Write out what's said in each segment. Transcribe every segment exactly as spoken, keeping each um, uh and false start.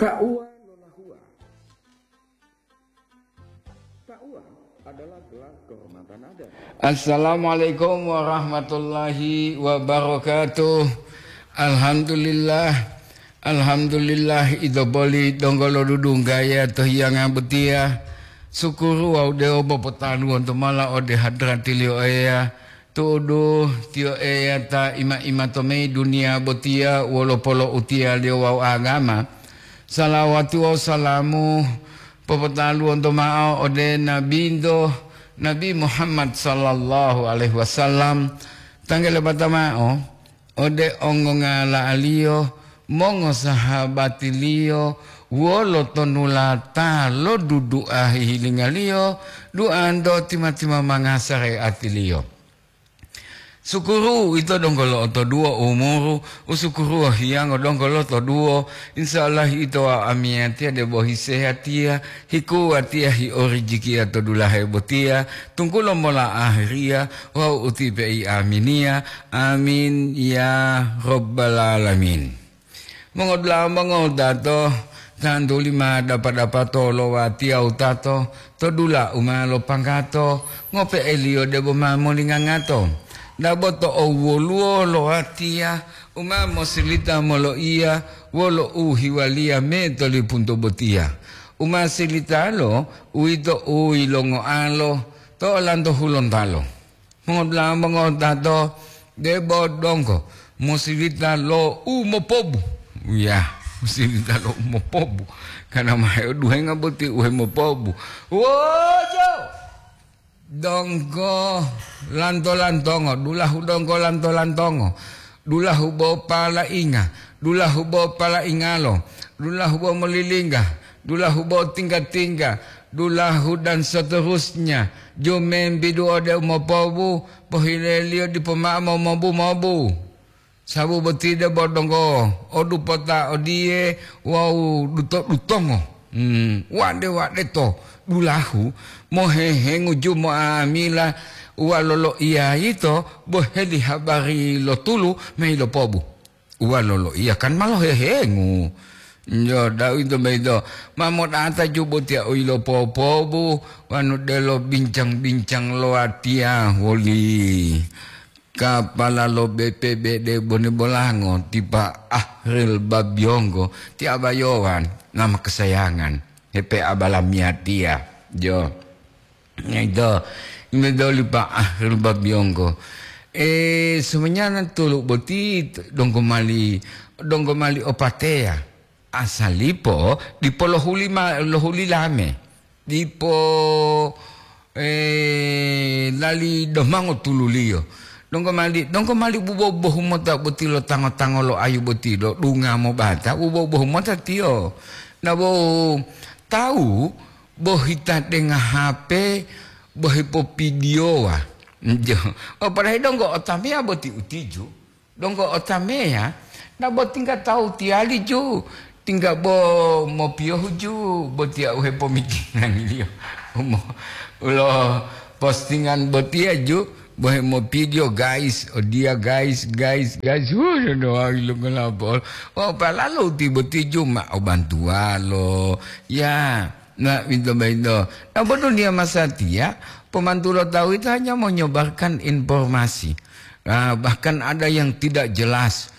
Tauwa lolahua. Tauwa adalah gelar kehormatan adat. Assalamualaikum warahmatullahi wabarakatuh. Alhamdulillah. Alhamdulillah, ito boli donggo lo dudunggaya to hiyanga botiya. Sukuru wawu dewo popotaluwonto mala ode hadratiliyo Eya. Tu'udu, Tiyo Eya ta ima-ima to meyi duniya botiya wolo polo'utiyaliyo wawu agama. Salawati wawu salamu popotaluwonto ma'o ode Nabinto, Nabi Muhammad sallallahu alaihi wasallam, tanggele bata ma'o, ode ongongala'aliyo, mongosahabatiliyo, wolo tonulata lo dudu'a hihilingaliyo, duanto tima-timamanga sareatiliyo. Sukuru ito donggo lo'otoduwo umuru, usukuruwo hiyango donggo lotoduwo, insya Allah ito wawu amiyatiya debo hisehatiya, hikuwatiya hiorijikiya to dulahe botiya, tunggulo mola ahiriya wawu utipe'i aminiya. Amin ya Rabbal Alamin. Mongodula'a mongowutato, tantuli ma dapa-dapato lo watiya wutato to dula u ma lopanggato, ngope'eliyo debo ma molingangato. Dabo to owwoluwo lo watiya u ma mosilita moloiya wolo u hiwaliya me to lipunto botiya. U ma silitalo, uwito u yilongoalo to olanto hulontalo. Mongodula'a mongotato, debo donggo, musilita lo u mopobu. Ya, musilita lo u mopobu. Karena ma heoduhenga boti u hemopobu. Wojo! Donggo lanto-lantongo, dulahu donggo lanto-lantongo. Dulahu bo palainga, dulahu bo palaingalo, dulahu bo molilingga, dulahu bo tingga-tingga, dulahu dan seterusnya, jumembidu ode umopobu, pohileliyo dipo ma'o momobu-mobu. Sabu boti debo donggo o dupota odiye wawu duto-dutongo. Hmm, wade-wade to dulahu mohehengu jumo'amila uwa loloiya yito boheli habari lo tulu ma yilopobu. Uwa loloiya kan ma lohehengu. Jo, dawito boyito ma modata jubotiya u yilopopobu wanu delo bincang-bincang lo watiya woli. Kapala lo B P B D Bone Bolango, ti Pak Ahril Babiyonggo, ti abayowan, nama kesayangan, hepe abalamiyatiya. Jo. Ito, imedoli Pak Ahril Babiyonggo. Eh, sebenarnya tulu boti donggo mali, donggo mali opateya. Asalipo dipo lohuli ma-, lohuli lame. Dipo, eh, lali domango tululiyo. Donggo mali, donggo mali bubo-bohu mota boti lo tango-tango lo ayu boti lo dunga mobata, bubo-bohu mota tiyo. Na bo tawu bo hita denga H P, bo hipopidiyowa. Jo. O, padahal donggo otameya boti utiju. Donggo otameya, na bo tingga tawu tiyali ju, tingga bo mopiyohu ju, botiya u hepomikiraniliyo. Umo-, ulo postingan botiya ju, bo hemopidiyo, guys, odiya, guys, guys, guys, hu, dodowawi lo ngolapol. Oh, palalu ti boti ju ma o bantuwalo. Ya, na, ito boyito. Na bo duniya masatiya, pomantulo tawu yito hanya menyebarkan informasi. Ah, bahkan ada yang tidak jelas.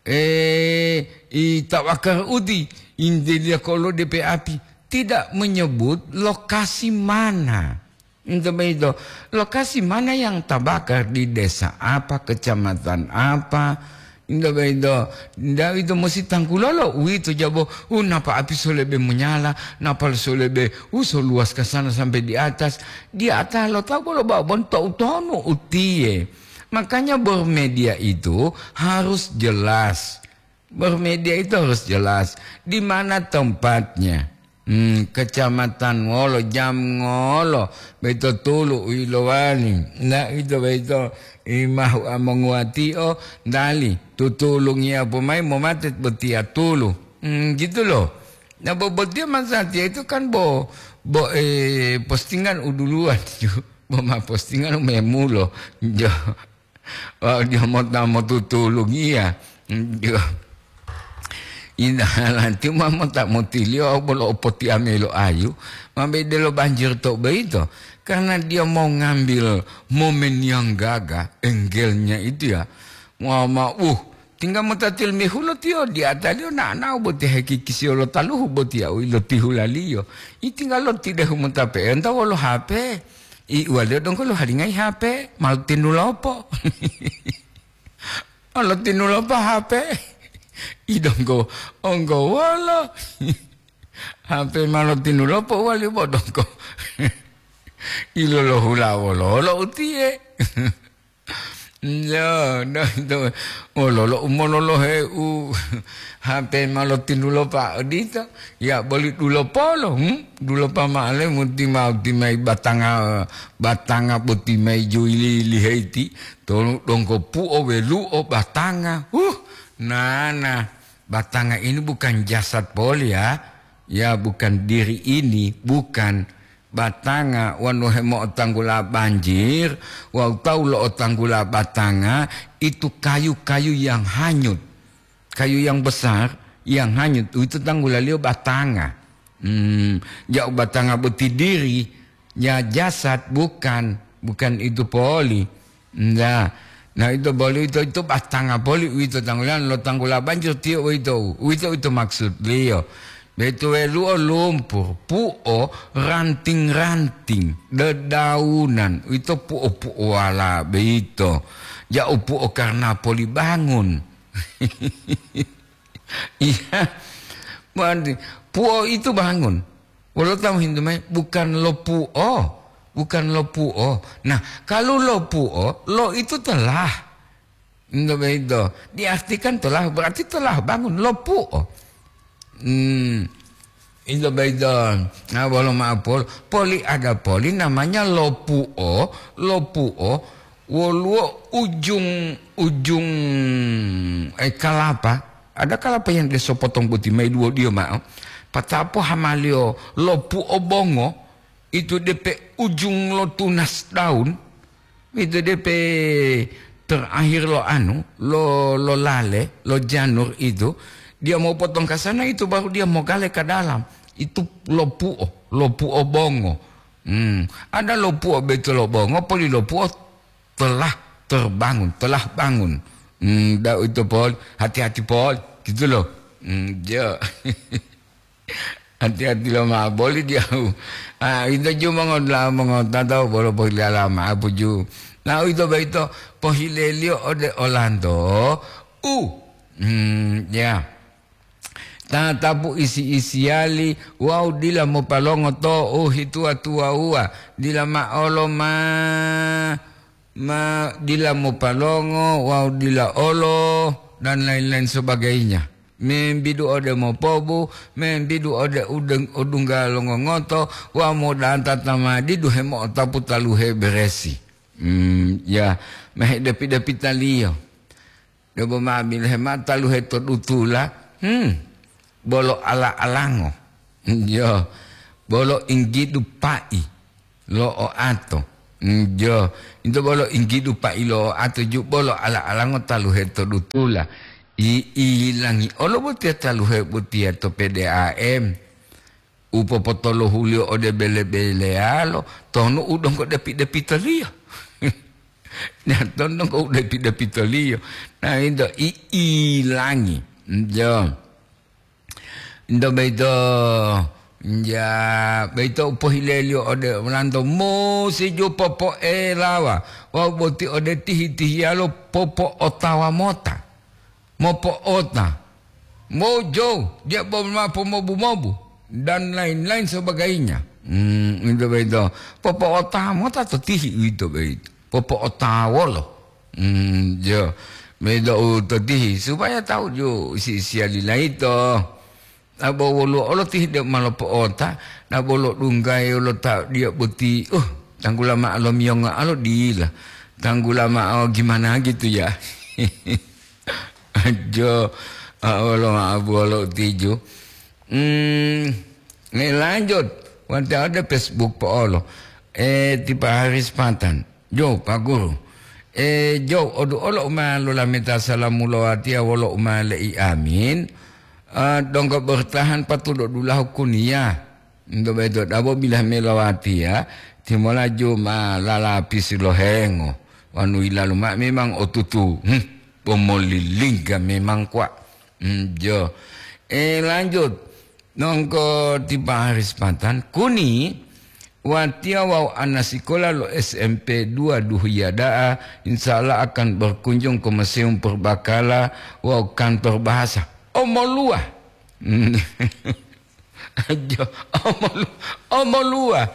Eh, i tawakar uti, inteliya kolo D P api, tidak menyebut lokasi mana. Ito boyito, lokasi mana yang tabakar, di desa apa, kecamatan apa. Ito boyito, nda ito musi tangkulolo, uwito jabo, u napa api solebe monyala, napa solebe, u soluwas ka sana sampai di atas. Di atas lo tawu bolo babon to utonu utiye. Makanya bermedia itu harus jelas. Bermedia itu harus jelas. Di mana tempatnya? Hmm, kecamatan ngolo, jam ngolo, boyito tulu u yilowali. Na ito boyito imahu amonguwatio, dali, tutulungiya pomayi momatet botiya tulu. Hmm, gitu loh. Na bo botiya masatiya itu kan bo, bo, eh, postingan u duluwan ju. Bo ma postingan u memulo. Jo. Wawu diyo mota motutulungiya. Diyo. Indahalanti ma mota motiliyo bolo opotiame lo ayu, ma bede lo banjir to boyito, karena dia mau ngambil momen yang gagah, angle-nya itu ya. Wah, ma, uh, tinggal mota tilmihulo tiyo, di ataliyo na'ana'o boti hekikisiyo lo taluhu boti ya, u ilotihulaliyo. I tinggal lo tidehu mota pe'enta wolo H P. I uwaliyo donggo lo halingai H P, malu tinulopo. Olo tinulopa H P. I donggo, onggo wolo. H P ma lo tinulopa wali bo donggo. Ilolo hula wololo utiye. Yo, do, do. Wololo umololohe u H P ma lo tinulopa odito. Ya boli dulopolo, hmm? Dulopa ma'ale muti mau timai batanga, batanga boti mai juili-ili heiti. Tolu donggo pu'o welu'o batanga. Huh, nana, batanga ini bukan jasad poli ya. Ya, bukan diri ini, bukan. Batanga wonu hemo'otanggula banjir, wawu tawu lo'otanggula batanga, itu kayu-kayu yang hanyut. Kayu yang besar, yang hanyut, itu tanggulaliyo batanga. Hmm, ja'u batanga boti diri, ya jasad, bukan, bukan itu poli. Nda. Nah, ito boli ito, ito batanga poli uwito tanggulan lo tanggula banjir tiyo uwito. Uwito, uwito maksudliyo. Betuwelu'o lumpur, pu'o ranting-ranting, dedaunan, uwito pu'o-pu'owala beito. Ja'u pu'o karena poli bangun. Iya. Berarti pu'o itu bangun. Wolo tawu hintu mayi, bukan lo pu'o, bukan lo pu'o. Nah, kalau lo pu'o, lo itu telah. Ento boyito, diartikan telah, berarti telah bangun, lo pu'o. Hmm. Ento boyito, nah, bolo ma'o pol-, poli ada poli namanya lo pu'o, lo pu'o, woluwo ujung, ujung, eh, kalapa. Ada kalapa yang dia sopotong boti mayi duwo diyo ma'o. Patapo hamaliyo lo pu'o bongo, itu depe ujung lo tunas daun, itu depe terakhir lo anu, lo, lo lale, lo janur itu, dia mau potong ke sana, itu baru dia mau gale ke dalam. Itu lo pu'o, lo pu'o bongo. Hmm, ada lo pu'o beto lo bongo, poli lo pu'o telah terbangun, telah bangun. Hmm, da itu pol, hati-hati pol, gitu loh. Hmm, ya. Hati-hati lo ma'o boli diyahu. Ah, ito ju mongodula'a mongotata bolo pohilala ma'o puju. Nah, uwito boyito pohileliyo ode olanto. U, hmm, ya. Tatapu isi-isiyali wawu dila mopalongo to u hituwa-tuwawuwa. Dila ma'olo ma ma dila mopalongo wawu dila olo, dan lain-lain sebagainya. Membidu ode mopobu, membidu ode udeng-, odungga longongoto, wawu modanta tamadidu hemo'otapu taluhe beresi. Hmm, ya, mehedepi-depitaliyo. Debo ma bilohe mao taluhe to dutula, hmm, bolo ala-alango. Yo, bolo inggidu pa'i lo oato. Jo, ito bolo inggidu pa'i lo oato ju bolo ala-alango taluhe to dutula. I, ilangi olo botiya taluhe botiya to P D A M. U popotolohuliyo ode bele-beleyalo, tonu u donggo depi-depitoliyo. Nah, tonu donggo u depi-depitoliyo. Nah, ito i, ilangi. Jo. Ento boyito, ja, boyito u pohileliyo ode olanto musi ju popoelawa wawu boti ode tihi-tihiyalo popo'otawa mota, mopo'ota, mojo, diya bo ma pomobu-mobu, dan lain-lain sebagainya. Hmm, ento boyito, popo'otawa mota to tihi uwito boyito. Popo'otawolo. Hmm, jo. Medo u totihi, supaya tahu ju si-, siyali layito. Abo woluwo olo tihi deu ma lopo'ota, nabo lodunggayi lo ta diya boti, uh, tanggula ma'o lomiyongo alo dila. Tanggula ma'o gimana gitu ya. Jo, a, olo ma'o buwolo tiju. Hmm, ngelanjut. Wante ode Facebook po'olo. Eh, tipa Haris Patan. Jo, Pak Guru. E, jo, odu olo u ma lolameta salamu lo watiya wolo u ma le'i amin. Ah, donggo bertahan patulo dulahu kuniya. Ndo bedo dabo bila melowati ya, timolaju ma lalapisi lohengo. Wanu ilalu ma memang otutu. Hmm, pomolilingga memang kwa. Hmm, jo. Eh, lanjut. Nongko tipa hari sepatan, kuni, watiya wawu ana sikola lo S M P dua Duhuya da'a, insya Allah akan berkunjung ke Museum Purbakala wawu kantor bahasa. Omoluwa. Jo, omolu-, omoluwa.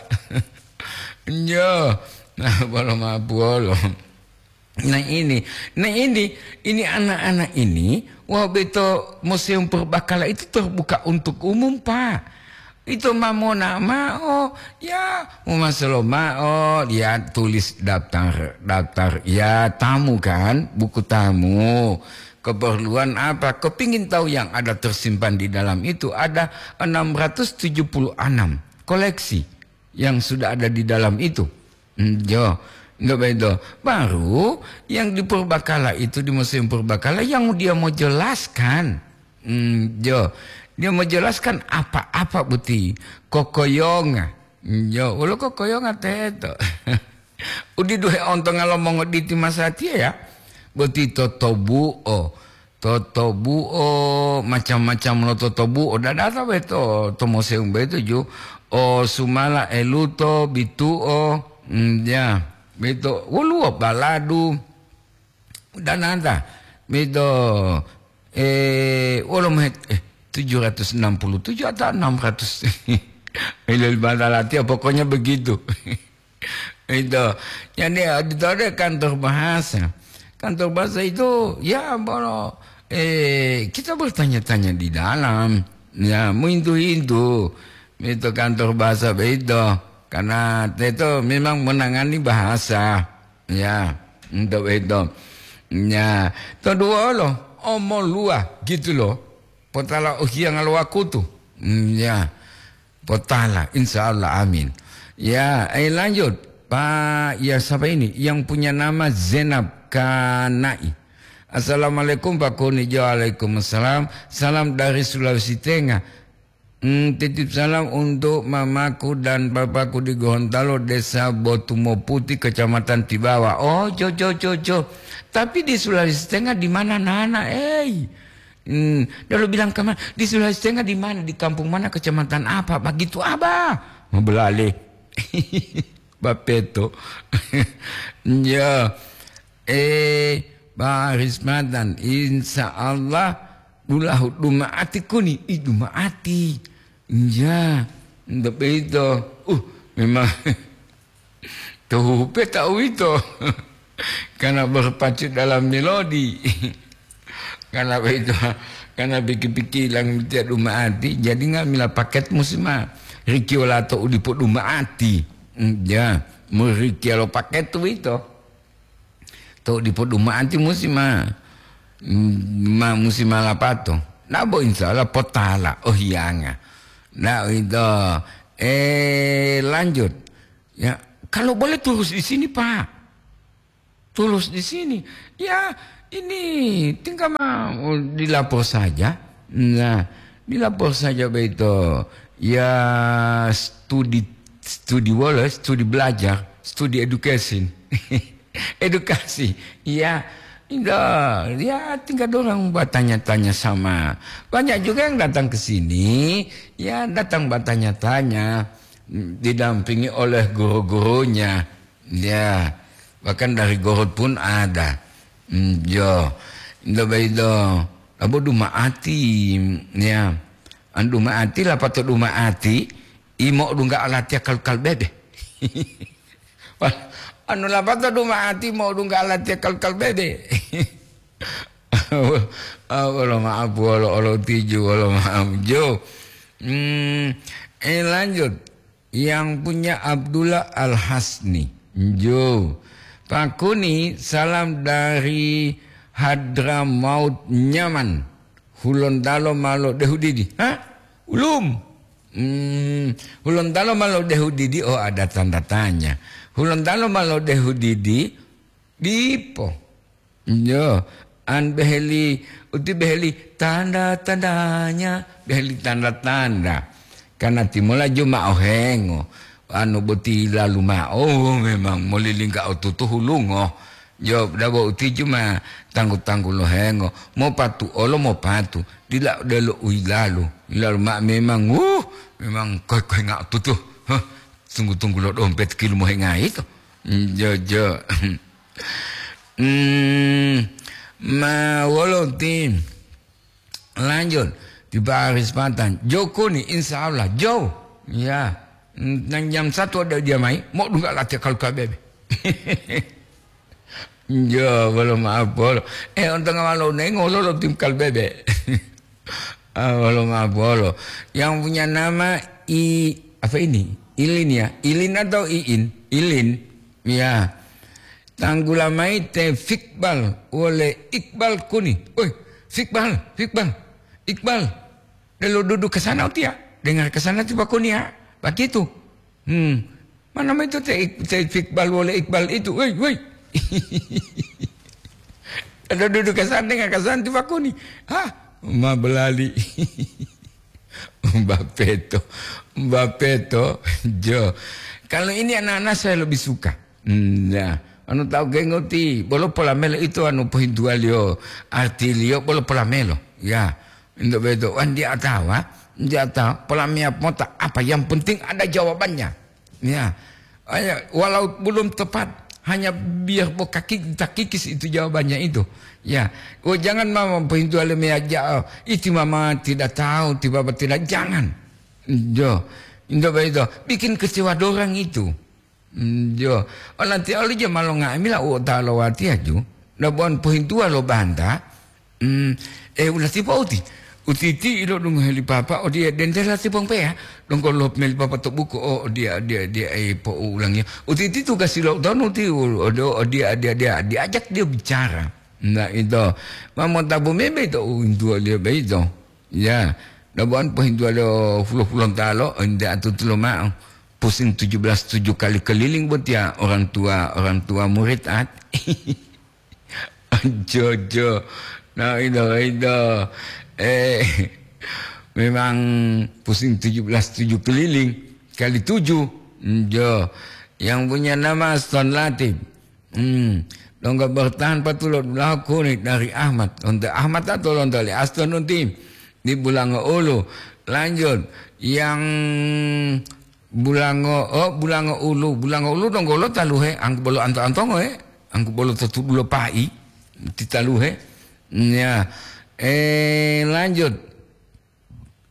Jo, nah, bolo mapuolo. Nah ini, nah ini, ini anak-anak ini, wah beto Museum Purbakala itu terbuka untuk umum, Pak. Itu ma mona ma'o, ya, mau masolo ma'o, ya, tulis daftar, daftar, ya, tamu kan, buku tamu. Keperluan apa? Kepingin tahu yang ada tersimpan di dalam itu, ada enam ratus tujuh puluh enam koleksi yang sudah ada di dalam itu. Hmm, jo, nggak begitu. Baru yang di Purbakala itu, di Museum Purbakala, yang dia mau jelaskan. Hmm, jo, dia mau jelaskan apa-apa boti kokoyonga. Hmm, jo, ulo kokoyonga teto. Udi duhe ontonga lo mongoditi masatiya ya. Boti totobuo. Totobuo, macam-macam lo totobuo, dadata beto to museum beto ju, o sumala eluto, bituo, mm, ya, beto, woluwo baladu, danata, beto, eh, wolo mehet, eh, tujuh ratus enam puluh tujuh atau enam ratus. Ilal batalati, pokoknya begitu. Itu. Jadi, auditor dia kantor bahasa. Kantor bahasa itu, ya, bolo, eh, kita bertanya-tanya di dalam. Ya, muintu-intu. Itu kantor bahasa begitu. Karena itu memang menangani bahasa. Ya, untuk itu. Ya, kedua lo, omoluwa gitu loh. Potala uhiyanga lo wakutu. Hmm, ya. Potala, insya Allah, amin. Ya, eh, lanjut. Pak, ya, siapa ini? Yang punya nama Zainab Kanai. Assalamualaikum, Pak Kuni. Waalaikumsalam. Salam dari Sulawesi Tengah. Hmm, titip salam untuk mamaku dan papaku di Gorontalo, Desa Botumoputi, Kecamatan Tibawa. Oh, jo, jo, jo, jo. Tapi di Sulawesi Tengah di mana, Nana? Eh, Hmm, lalu bilang ke ma-, "Di Sulawesi Tengah di mana? Di kampung mana? Kecamatan apa?" Begitu, Abah. Mabelale. Bapeto. Ya. Eh, Pak Rismatan, insya Allah dulahu dumaati kuni. Ih, dumaati. Ya, ndak begitu. Uh, memang Tuhupe ta uwito, karena berpacu dalam melodi. Karena begitu, karena piki-piki ilang tiya duma'ati, jadi nga'amila paket musi ma rikiyo lato u dipo duma'ati. Mm, ya, murikiya lo paket uwito. To dipo duma'ati musi ma, ma musi ma lapato. Nabo insya Allah potala, oh hiyanga. Nah, itu, eh, lanjut. Ya, kalau boleh terus di sini, Pak. Terus di sini. Ya, ini tinggal mau dilapor saja. Nah, dilapor saja begitu. Ya, studi, studi wala, studi belajar, studi education. Edukasi. Ya, indah, ya tinggal orang bertanya-tanya sama. Banyak juga yang datang ke sini, ya datang bertanya-tanya, didampingi oleh guru-gurunya. Ya, bahkan dari Gorut pun ada. Hmm, yo, indah baido, abo duma'ati, ya. An duma'ati, lapato duma'ati, imo dungga alatiya kal-kal bebe. Wah, anu lapato duma'ati mo dungga alatiya kal-kal bebe. Ah, wolo ma'apu, wolo, wolo tiju, wolo ma'apu jo. Hmm, eh, lanjut. Yang punya Abdullah Al-Hasni. Jo. Pak Kuni, salam dari Hadramaut Nyaman. Hulontalo malo dehu didi. Hah? Ulum. Hmm, Hulontalo malo dehu didi, oh, ada tanda tanya. Hulontalo malo dehu didi, dipo. Yo, An beheli, uti beheli tanda-tandanya, beheli tanda-tanda. Karena timola juma ohengo, anu boti lalu ma'o, oh, memang molilingga otutu hulungo. Jo, dabo uti juma tanggu-tanggu lohengo, mopatu olo mopatu, dila delo uilalu. Ilalu ma memang, uh, memang koi-koi nga otutu. Huh, tunggu-tunggu lo dompet kilu mohengai to. Jo, jo. Hmm, ma wolo ti lanjut di Paris Patan. Jokoni, insya Allah. Jo. Ya. Nang jam satu ada dia mai. Mau dungga latihan kalau kabebe. Jo, belum apa lo. Eh, untung awal lo nengok lo, lo tim kalbebe. Ah, belum apa lo. Yang punya nama I, apa ini? Ilin ya? Ilin atau Iin? Ilin. Ya. Tanggula mai te Fikbal wole Iqbal kuni. Oi, Fikbal, Fikbal, Iqbal. Delo duduk ke sana utia. Dengar ke sana tiba kuni ya. Begitu. Hmm. Mana itu te, te Fikbal wole Iqbal itu? Woi, woi. Ada duduk ke sana dengar ke sana tiba kuni. Hah? Ma belali. Bapeto. Bapeto. Jo. Kalau ini anak-anak saya lebih suka. Hmm, ya. Anu tahu gengoti, bolo polamelo itu anu pohintuwaliyo, artiliyo bolo polamelo. Ya, untuk begitu. Wan dia tahu, ha? Dia tahu, polamia mota apa, yang penting ada jawabannya. Ya. Ayo, walau belum tepat, hanya biar bo kaki, kita kikis itu jawabannya itu. Ya, oh, jangan mama pohintuwaliyo meja, oh, itu mama tidak tahu, itu bapak tidak, jangan. Jo, untuk begitu, bikin kecewa dorang itu. Mm, jo. Olanti oli jo ma longa'amila u otawa lo watiya ju, dabuwan pohintuwa lo banta, mm, e, ulati po'uti. Utiti ilo dungohe li papa, odiye dentela ti pongpeya, donggo lo meli papa to buku, o, odiya, odiya, odiya, e, po'ulangiya. Utiti tugasi lo utonu ti, u-, odo, odiya, odiya, odiya, diajak dia bicara. Nah, ito. Ma montabu mebe to uwintuwa liyo beito. Ya, dabuwan pohintuwa lo fulo-fulontalo, ente atutu loma'o. Pusing tujuh belas tujuh kali keliling botiya orang tua, orang tua murid at. Jojo. Nah, itu, itu. Eh, memang pusing tujuh belas tujuh keliling kali tujuh. Jo. Yang punya nama Aston Latif. Hmm. Donggo bertahan patulo dulahu kuni dari Ahmad. Lonto Ahmad atau lonto li Aston unti. Di Bulango Ulu. Lanjut. Yang Bulango, oh, Bulango Ulu. Bulango Ulu donggo lo taluhe. Angku bolo anto-antongo, eh. Angku bolo to tudulo pai. Ti taluhe. Ya. Eh, lanjut.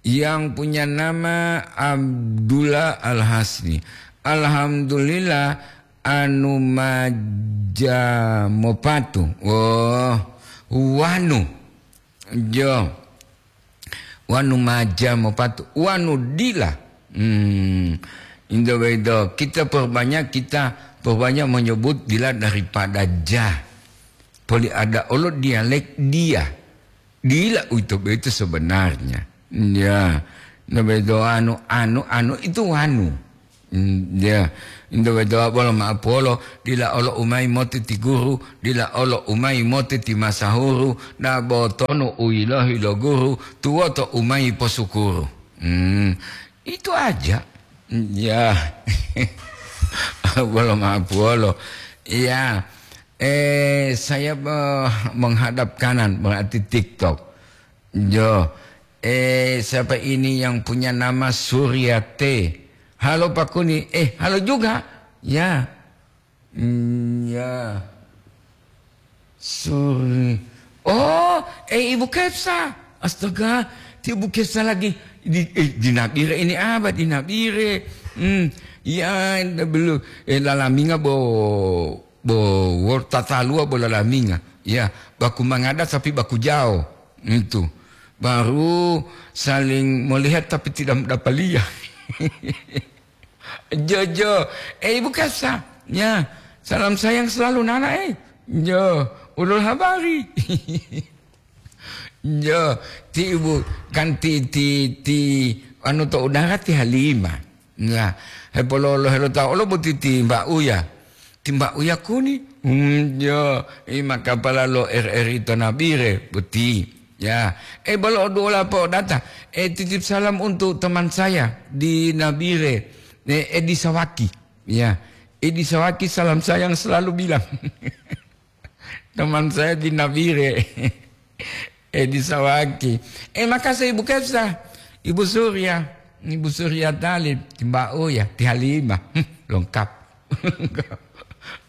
Yang punya nama Abdullah Al-Hasni. Alhamdulillah, anu maja mopatu. Oh, wanu. Jo. Wanu maja mopatu. Wanu dila. Hmm. Indo bedo. Kita perbanyak, kita perbanyak menyebut dila daripada ja. Poli ada olo dialek dia. Dila uwito boyito sebenarnya. Ya, nto boyito anu, anu, anu itu wanu. Mm, ya, nto boyito bolo ma'o polo, dila olo umayi moti ti guru, dila olo umayi moti ti masahuru, dabo tonu u yilohi lo guru, tuwoto umayi posukuru. Mm, itu aja. Ya, bolo ma'o polo. Ya, eh, saya, eh, menghadap kanan, berarti TikTok. Jo. Eh, siapa ini yang punya nama Surya T? Halo, Pak Kuni. Eh, halo juga. Ya. Hmm, ya. Suri. Oh, eh, Ibu Kepsa. Astaga, ti Ibu Kepsa lagi di, eh, di Nabire ini apa? Di Nabire. Hmm, ya, belum. Eh, lalaminga bo, bo, wor tataluwa bo lalaminga. Ya, baku mangada tapi baku jao. Itu. Baru saling melihat tapi tidak mendapaliya. Jojo, eh, Ibu Kasa, ya, salam sayang selalu Nana, eh. Jo, ulul habari. Jo, ti Ibu, kan ti, ti, ti, anu to udara ti Halimah. Ya, hepololo helo tao lo boti ti Mbak Uya. Ti Mbak Uya Kuni, Hmm, yo, i makapala lo R R I to Nabire, boti. Ya, eh, bolo dua lapo data. Eh, titip salam untuk teman saya di Nabire, eh, Edi Sawaki. Ya, Edi Sawaki, salam sayang selalu bilang. Teman saya di Nabire. Edi Sawaki. Eh, makasih Ibu Kepsa. Ibu Surya. Ibu Surya Talib. Mbak Uya. Ti Halimah. Hmm, lengkap.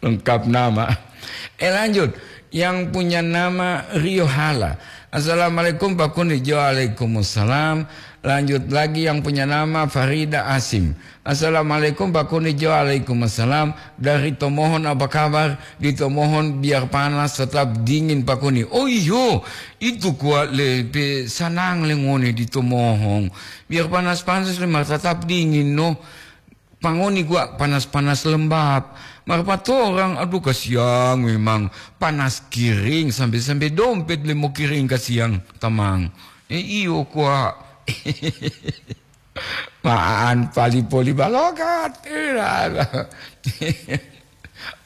Lengkap nama. Eh, lanjut. Yang punya nama Rio Hala. Assalamualaikum Pak Kuni. Waalaikumsalam. Lanjut lagi yang punya nama Farida Asim. Assalamualaikum Pak Kuni. Waalaikumsalam. Dari Tomohon apa kabar? Di Tomohon biar panas tetap dingin Pak Kuni. Oh iyo, itu kuat le pe sanang le ngone di Tomohon. Biar panas-panas le mar tetap dingin no. Pangoni kuat panas-panas lembab. Mar patorang, aduh kasiang memang panas kiring sampai-sampai dompet le mau kiring kasiang tamang. Eh iyo kuat. Maan pali poli balokat.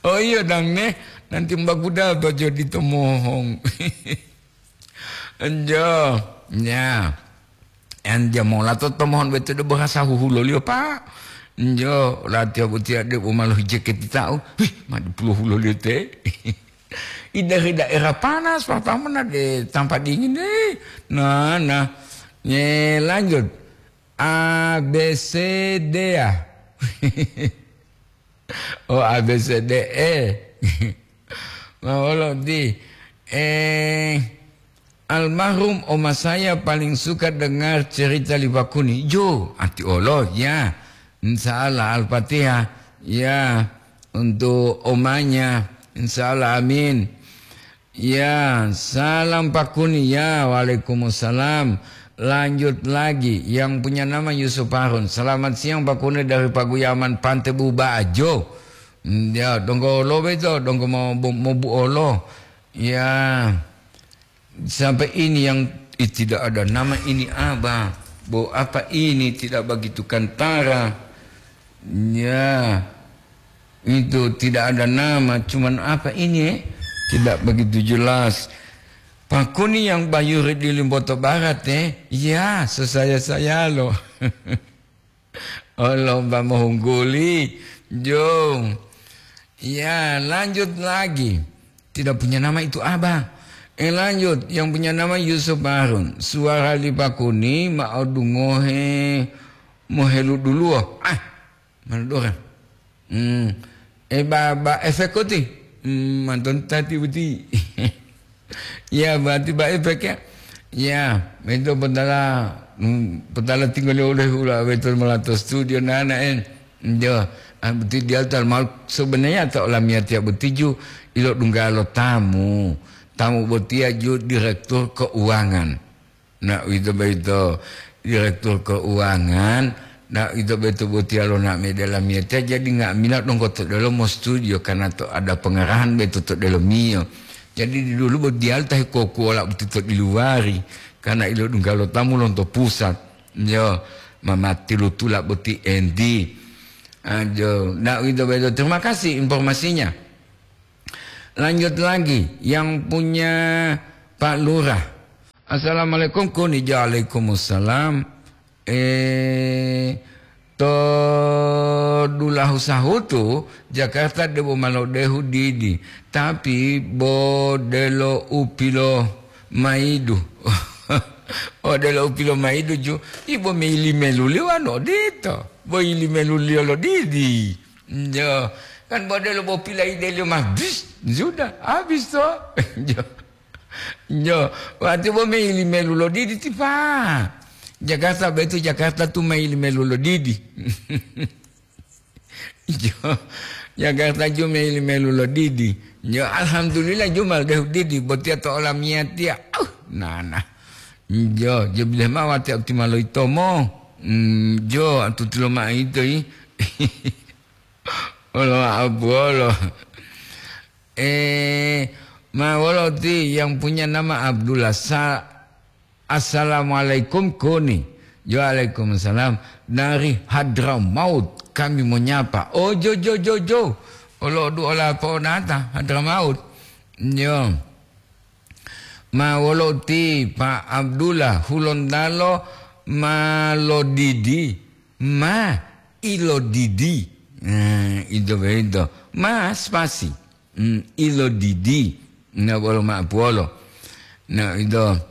Oh iya dang ne, nanti mbaguda bajo di Tomohong. Enjo, ya. Enjo mola to Tomohon beto de bahasa huhulolio, Pak. Enjo, latiya botiya de bo malu jeket tau. Wih, ma di pulo hulolio te. I dari daerah panas, pertama na de tampak dingin deh. Nah, nah. Ye, lanjut. A B C D ya. Oh, A B C D E. Mawolo di, eh, almarhum oma saya paling suka dengar cerita li Pakuni. Jo, ati olo, ya. Insya Allah, Al-Fatihah. Ya, untuk omanya. Insya Allah, amin. Ya, salam Pakuni. Ya, waalaikumsalam. Lanjut lagi, yang punya nama Yusuf Harun. Selamat siang Pakuni dari Paguyaman Pante Bubajo. Hmm, ya, donggo lo beto, donggo mo, mo, mo buolo. Ya, sampai ini yang, ih, tidak ada nama ini, Abah. Bo apa ini tidak begitu kantara? Ya, itu tidak ada nama, cuman apa ini, eh? Tidak begitu jelas. Pakuni yang bayuri di Limboto Barat, eh? Ya, sesaya-saya lo. Oh, lomba mohungguli. Jo. Ya, lanjut lagi. Tidak punya nama itu Abah. Eh, lanjut. Yang punya nama Yusuf Harun. Suara li Pakuni mau dungohe mohelu duluwo. Ah, mana dora? Hmm. Eh, ba, ba efek koti? Hmm, manton tati boti. Ya, berarti ba efek ya. Ya, itu petala, hmm, petala tinggal oleh hula betul melato studio nana en. Yo, ah, boti dia tal mal sebenarnya atau olamia tiap botiju ilo dunggalo tamu. Tamu botia ju direktur keuangan. Nah, uwito boyito direktur keuangan, nah, uwito boyito botiya lo na'amila lamiyatiya, jadi nga'amila donggo to delomo studio karena to ada pengarahan boyito to delomiyo. Jadi dulu bo diyalu ta hekokuwola boti to diluwari, karena ilodungga lo tamu lonto pusat. Yo, mamati lutula boti endi. Ah, jo, nah, uwito boyito. Terima kasih informasinya. Lanjut lagi, yang punya Pak Lurah. Assalamualaikum, kuni. Waalaikumsalam. Eh, to dulahu sahutu, Jakarta debo malodehu didi, tapi bo delo upilo maidu. Oh, delo upilo maidu ju, ibo meili meluli wano dito. Bo ili meluli lo didi. Jo, kan bo delo bo pilaideliyo ma, bis, sudah, habis to. Jo. Jo, wati bo meili melu lo didi tipa. Jakarta betu Jakarta tu meili melu lo didi. Jo, Jakarta ju meili melu lo didi. Jo, alhamdulillah ju mal dehu didi, botiya to olamiyatiya. Au, nana. Jo, jo bileh ma wati optimal lo itomo. Mm, jo, atuti lo ma ito i. Olo abuolo. Eh, ma wolo ti yang punya nama Abdullah Sa-, Assalamualaikum, kuni. Waalaikumsalam. Dari Hadramaut kami menyapa. Oh, jo, jo, jo, jo. Olo duola po'onata, Hadramaut. Yo. Ma wolo ti Pa Abdullah Hulontalo ma lodidi, ma ilodidi. Nah, ito boyito. Ma spasi. Hmm, ilodidi. Na bolo ma'apuwolo. Na ito.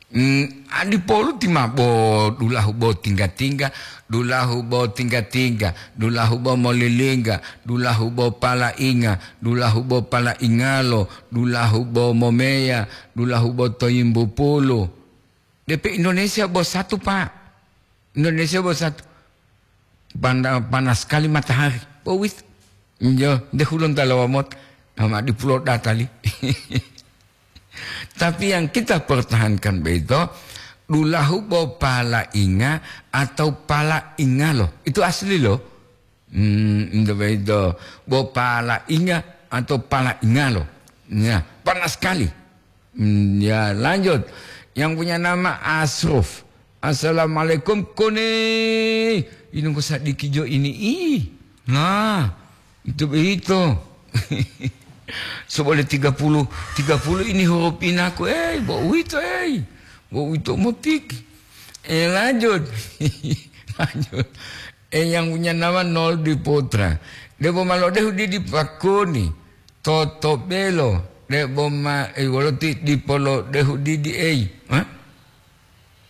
Hmm, adipolu ti ma bo dulahu bo tingga-tingga, dulahu bo tingga-tingga, dulahu bo molilingga, dulahu bo palainga, dulahu bo palaingalo, dulahu bo momeya, dulahu bo toyimbu pulu. Depe Indonesia bo satu, Pak. Indonesia bo satu. Panda-, panas sekali matahari. Bo wit. Injo, de Hulontalo wamot. Ama dipulo datali. Tapi yang kita pertahankan begitu, dulahu bo palainga atau palaingalo. Itu asli loh. Hmm, itu begitu. Bo palainga atau palaingalo. Ya, panas sekali. Hmm, ya, lanjut. Yang punya nama Asruf. "Assalamualaikum, Kone." Ini kok sadiki jo ini, ih. Nah, itu begitu. Sebole tiga puluh, tiga puluh ini huruf inaku, eh, bo uwito, eh. Bo uwito motik. Eh, lanjut. Lanjut. Eh, yang punya nama Nol di Putra. Debo ma lodehu didi pakuni. Toto belo. Debo ma, eh, wolo ti dipo lodehu didi, eh. Hah?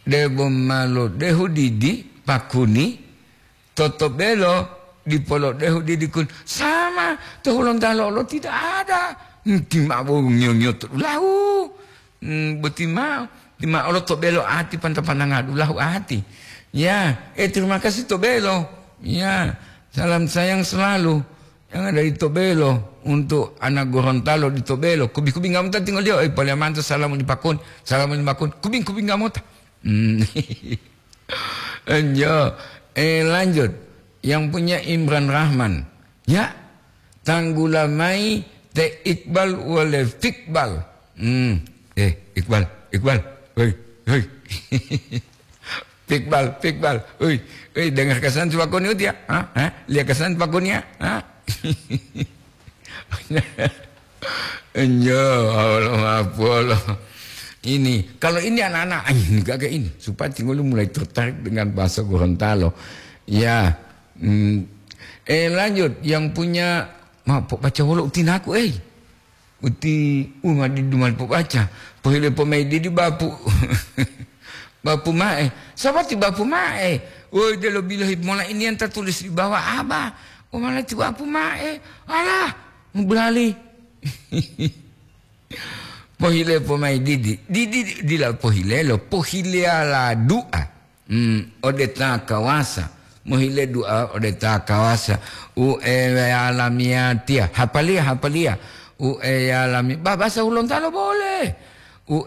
Debo ma lodehu didi pakuni. Toto belo dipo lodehu didi kun. Sama, to Hulontalo lo tidak ada. Nti ma bo nyo-nyo to dulahu. Hmm, boti ma'o, ti ma'o lo to belo ati panta-pantanga dulahu ati. Ya, eh, terima kasih to belo. Ya, salam sayang selalu. Yang ada di Tobelo untuk anak Gorontalo di Tobelo. Kubi-kubi ngamota tinggal dia, eh, paliamanto salamu di pakun, salamu di pakun, kubing-kubing ngamota. Hmm. Enjo, eh, lanjut. Yang punya Imran Rahman. Ya, tanggula mai te Iqbal wale Fikbal. Hmm. Eh, Iqbal, Iqbal. Hoi, hoi. Pikbal, pikbal. Ui, ui, dengar kesan si pakoni uti ya? Ha? Ha? Lia kesan pakoni ya? Ha? Enjo, Allah mapolo. Ini, kalau ini anak-anak, ah, ini gaga ini. Supaya tinggal mulai tertarik dengan bahasa Gorontalo. Ya. Hmm. Eh, lanjut. Yang punya, ma, po-, baca wolo utinaku, eh. Uti uma didu mali pobaca, pohile pomai didi bapu. Bapu ma'e. Sabati bapu ma'e. Woi, delo bilohi mola ini yang tertulis di bawah apa? Umala ti bapu ma'e. Alah, berali. Pohile pomai didi. Didi dila pohile lo, pohile ala du'a. Hmm, ode ta kawasa. Mohile du'a ode ta kawasa. U eya lamiyatiya. Hapaliya, hapaliya. U eya lami-, ba-, bahasa Hulontalo boleh. U